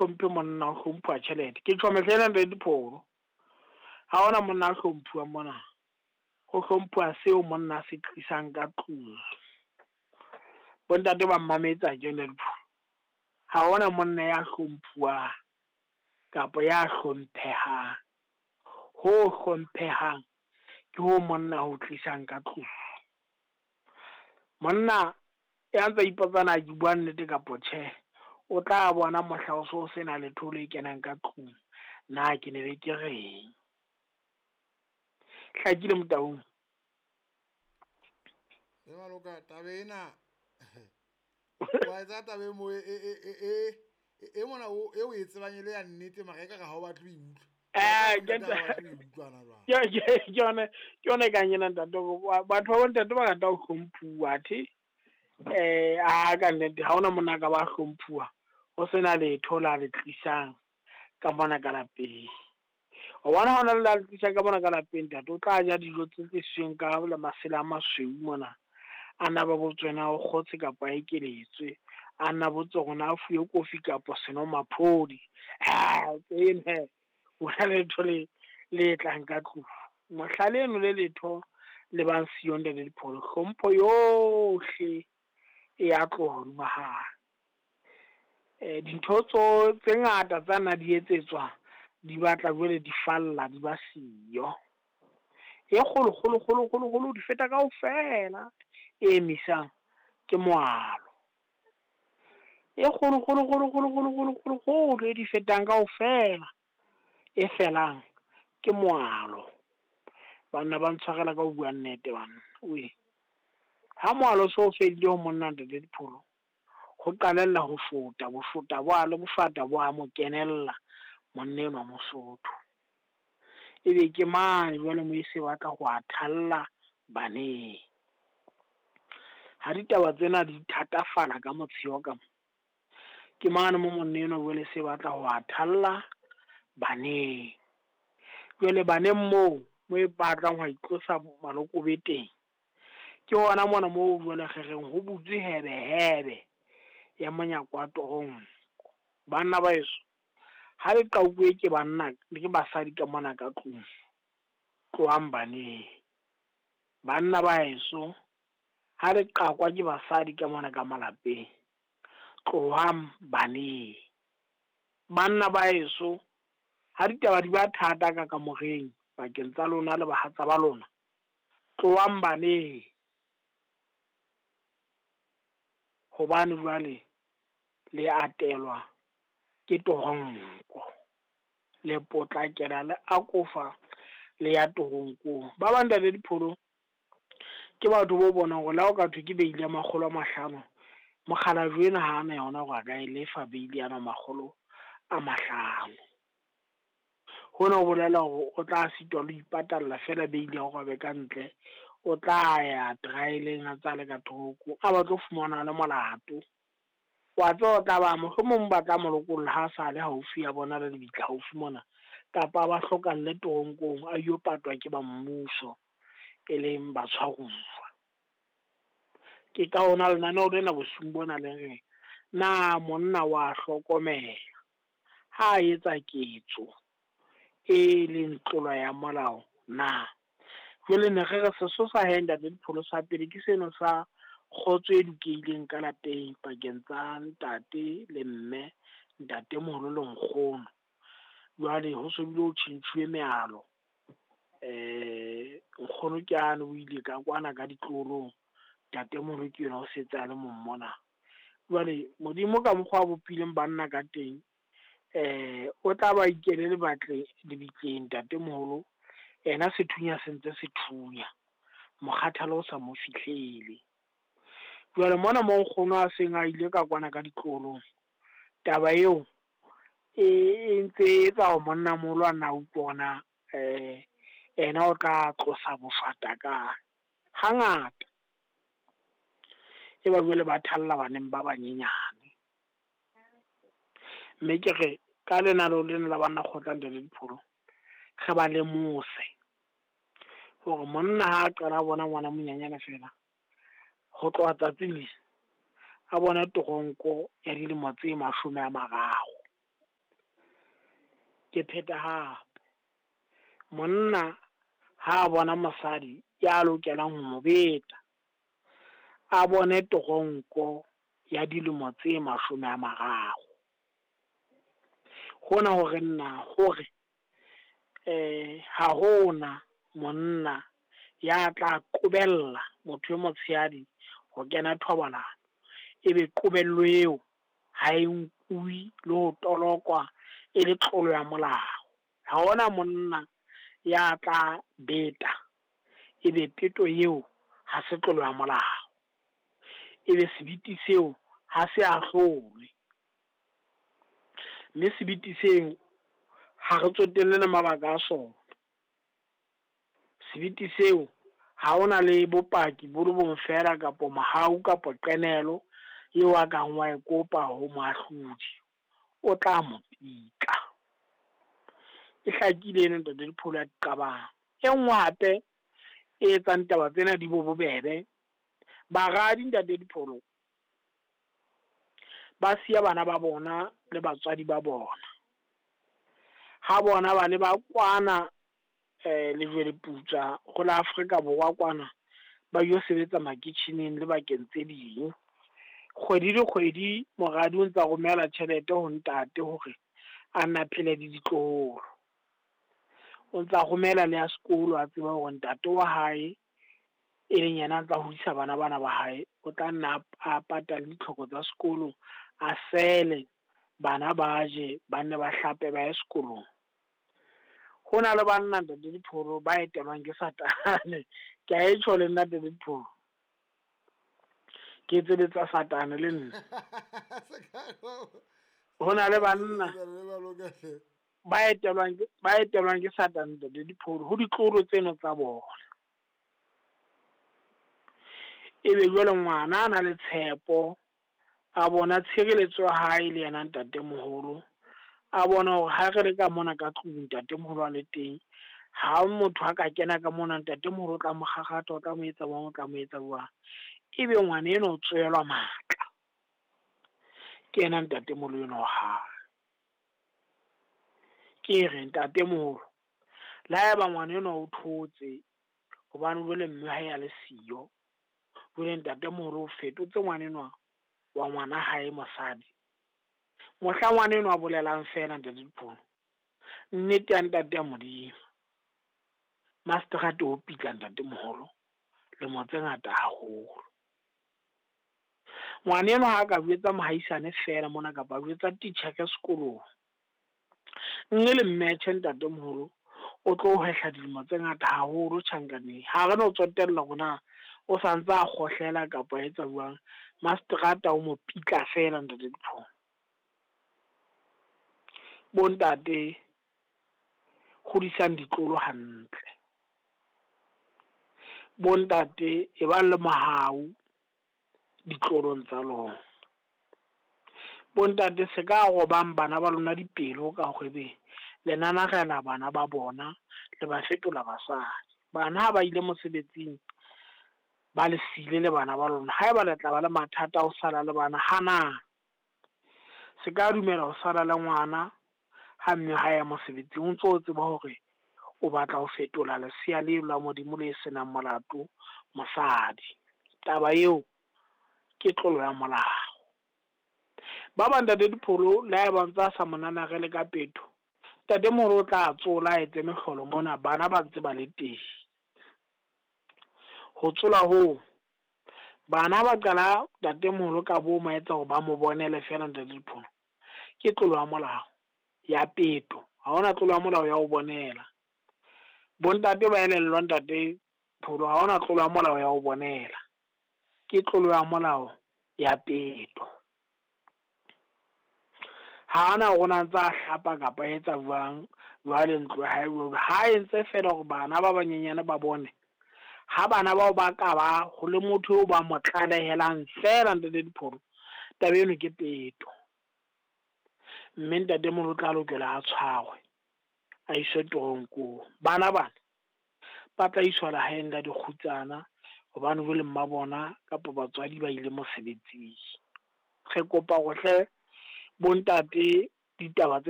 Hlomphe monna, ho hlomphuwa tjhelete. Ke tjho mehla ena ntate Dipholo. Ha hona monna a hlomphuwang mona. Ho hlomphuwa seo monna a se tlisang ka tlung. Bontate ba mmametse akere ntate Dipholo. Ha hona monna ya hlomphuwang kapa ya hlomphehang. Ho hlomphehang ke ho monna ho tlisang ka tlung. Monna ya ntsa ipotsa na ke bua nnete kapa tjhe, o tla bona mohla o so sena letho le kenang ka tlung. Na ke ne be ke reng? Hlakile Motaung. Le maloka taba ena wa etsa taba e mo e mona o e o e tsebang e le ya nnete mara e ka re ha o batle ho e utlwa. Ke yone e kang ena ntate, batho ba bontate ba rata ho hlomphuwa athe a ka nnete ha hona monna a ka ba hlomphuwa ho sena letho la le tlisang ka mona ka lapeng. O bona ha ona le la le tlisang ka mona ka lapeng ntate, o tla ja dijo tse tlisitsweng ka masela a masweu mona. A na ba botswe na o kgotse kapa a ekeletswe, a nna botse hore na a fuwe kofi kapa senomaphodi. Tsena hona letho le le tlang ka tlung. Mohla leno le letho le bang siyo ntate Dipholo, hlompho yohle e ya tloha hodima hae. Dintho tse ngata tsa nna di etsetswa di batla jwale di falla di ba siyo. E kgolo kgolo kgolo kgolo kgolo di feta kaofela e emisang ke moalo. E kgolo kgolo kgolo kgolo kgolo kgolo kgolo kgolo e di fetang kaofela e felang ke moalo. Banna ba ntshwarela ka ho bua nnete banna wee. Ha moalo so fedile ho monna ntate Dipholo, ho qalella ho shota, boshota bo a le boshata bo a mo kenella monna enwa Mosotho. Ebe ke mane jwale mo e se batla ho a thalla baneng. Ha ditaba tsena di thatafala ka motsheo ka mo, ke mane mo monna enwa jwale se batla ho a thalla baneng. Jwale baneng moo, mo e batlang ho itlosa malokobe teng, ke hona mona moo jwale re reng ho butswe hebe hebe ya monyako wa toronko. Banna ba heso, ha le qauwe ke banna le ke basadi ka mona ka tlung, tlohang baneng. Banna ba heso, ha le qakwa ke basadi ka mona ka malapeng, tlohang baneng. Banna ba heso, ha ditaba di ba thata ka kamoreng pakeng tsa lona le bahatsa ba lona, tlohang baneng. Hobane jwale le atelwa ke toronko, le potlakela le akofa le ya toronkong. Ba bang ntate Dipholo ke batho bo bonang hore le ha o ka thwe ke beile ya 500, mokgalajwe ena ha ana yona hore a ka e lefa beile yana 500. Hona ho bolela hore o tla sitwa le ho ipatalla fela beile ya hore a be ka ntle, o tla ya trial-eng a tsa le ka thoko, a batlo fumana le molato. Wa tseba o tla ba mohlomong ba tla mo lokolla ha sa le haufi a bona le lebitla haufi mona, kapa ba hlokalle toronkong a yo patwa ke ba mmuso e leng batshwaruwa. Ke ka hona lenaneo lena bosiung bona le reng na monna wa hlokomela ha a etsa ketso e leng tlolo ya molao na? Jwale ne re re sesosa he ntate Dipholo sa pele ke seno sa kgotso e dukehileng ka lapeng pakeng tsa ntate le mme, ntatemoholo le nkgono. Jwale ho so bile ho tjhentjhuwe mealo. Nkgono ke ane o ile ka kwana ka ditloholong, ntatemoholo ke yena o setse a le mong mona. Jwale Modimo ka mokgwa a bopileng banna ka teng, o tla ba ikele lebitleng ntatemoholo, yena sethunya se ntse se thunya, mokgathala o sa mo fihlele. Jwale mona mo nkgono a seng a ile ka kwana ka ditloholong, taba eo e ntse e etsa hore monnamoholo a nna utlwe hore na ena o tla tlosa boshata kae. Hangata e ba jwale ba thalla baneng ba banyenyane. Mme ke re ka lenaneo lena la banna kgotla ntate Dipholo, re ba lemose hore monna ha a qala a bona ngwana monyanyana fela, ho tloha tsatsing le a bona toronko ya dilemo tse 30. Ke pheta hape, monna ha a bona mosadi ya lokelang ho mo beta, a bone toronko ya dilemo tse 30. Hona hore nna hore ha hona monna ya tla qobella motho e motshehadi ho kena thobalano, ebe qobello eo ha e nkuwe le ho tolokwa e le tlolo ya molao. Ha hona monna ya tla beta ebe peto eo ha se tlolo ya molao, ebe sebiti seo ha se ahlolwe, mme sebiti seo ha re tsotelle le mabaka a sona. Sebiti seo ha hona le bopaki bo le bong feela kapa mohau kapa qenehelo eo a kang wa e kopa ho moahlodi, o tla mo pitla. E hlakile eno ntate Dipholo ya diqabang. E nngwe hape e etsang taba tsena di bo bobebe, baradi ntate Dipholo ba siya bana ba bona le batswadi ba bona. Ha bona ba le ba kwana Lejweleputswa ho la Afrika Borwa kwana, ba yo sebetsa makitjheneng le bakeng tse ding. Kgwedi le kgwedi moradi o ntsa romela tjhelete ho ntate hore a nna phele le ditloholo. O ntsa romela le ya sekolo, a tseba hore ntate wa hae e leng yena a ntsa hodisa bana bana ba hae, o tla nna a patale ditlhoko tsa sekolo, a sele bana ba je, ba nne ba hlape ba ye sekolong. Ho na le banna ntate Dipholo ba etelwang ke Satane. Ke a e tjho le nna ntate Dipholo, ke etseletsa Satane le nna. Ho na le banna ba etelwang ke Satane ntate Dipholo ho ditloholo tseno tsa bona. Ebe jwale ngwana a na le tshepo, a bona tshireletso ya hae le yena ntatemoholo, a bona hore ha re le ka mona ka tlung ntatemoholo a le teng, ha motho a ka kena ka mona ntatemoholo o tla mo kgakgatha, o tla mo etsa jwang, o tla mo etsa jwang. Ebe ngwana enwa o tswelwa matla ke yena ntatemoholo enwa wa hae. Ke re ntatemoholo, le haeba ngwana enwa o thotse hobane jwale mme hae a le siyo, jwale ntatemoholo o fetotse ngwana enwa wa ngwana hae mosadi, mohla ngwana enwa a bolelang feela ntate Dipholo, nnete ya ntate ya Modimo, mastrate o pitla ntatemoholo lemo tse ngata haholo. Ngwana enwa ha ka jwetsa mohaisane feela mona kapa a jwetsa titjhere sekolong, mme le mmetjhe ntatemoholo o tlo hwehla dilemo tse ngata haholo tjhankaneng. Ha re no tsotella hore na o santse a kgohlela kapa a etsa jwang, mastrata o mo pitla feela ntate Dipholo. Bontate hodisang ditlolo hantle, bontate e bang le mohau ditlolong tsa lona, bontate se ka robang bana ba lona dipelo ka hore le nanarela bana ba bona le ba fetola basadi. Bana ha ba ile mosebetsing ba le siile le bana ba lona, haeba le tla ba le mathata a ho sala le bana, hanang. Se ka dumela ho sala le ngwana ha mme ha ya mosebetsing, o ntso o tseba hore o batla ho fetola lesea leo la Modimo le senang molato mosadi. Taba eo ke tlolo ya molao. Ba bang ntate Dipholo le haeba ntse a sa mo nanarele ka peto, ntatemoholo o tla tsola a etse mehlolo mona bana ba ntse ba le teng. Ho tsola hoo, bana ba qala ntatemoholo ka bo ma etsa hore ba mo bonele feela ntate Dipholo, ke tlolo ya molao ya peto. Ha hona tlolo ya molao ya ho bonela. Bontate ba elellwa ntate Pholo, ha hona tlolo ya molao ya ho bonela, ke tlolo ya molao ya peto. Ha ana hore na ntse a hlapa kapa a etsa jwang jwale ntlo ya hae, ha entse feela hore bana ba banyenyane ba bone. Ha bana bao ba ka ba ho le motho eo ba mo tlalehelang feela ntate Dipholo, taba eno ke peto. Mme ntatemoholo o tla lokela a tshwarwe, a iswe toronkong. Bana bana ba tla iswa lehaeng la dikgutsana hobane jwale mma bona kapa batswadi ba ile mosebetsing. Re kopa hore hle bontate ditaba tsena